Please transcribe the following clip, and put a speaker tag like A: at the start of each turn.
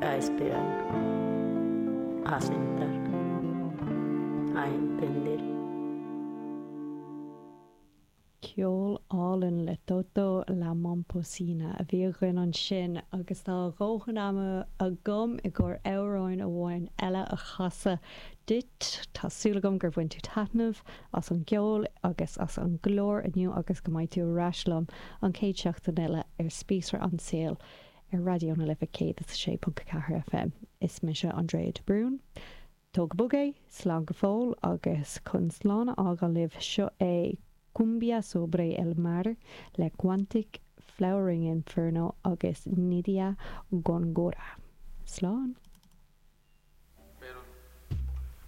A: A esperar, a sentar, a entender.
B: Ceol álainn le Toto La Momposina a bhí againn ansin agus tá a dhóthain ama agam i gcomhair amhráin amháin eile a chasadh duit. Tá súil agam gur bhain tú taitneamh as an gceol agus as an gclár inniu agus go mbeidh tú ar ais liom an chéad seachtain eile ar Spíosra an tSaoil ar Raidió na Life 106.4 FM. Is mise Andrea de Brún. Tóg go bog é, slán go fóill agus chun slán a fhágáil libh, seo é Cumbia Sobre El Mar le Quantic, Flowering Inferno agus Nydia Góngora. Slán!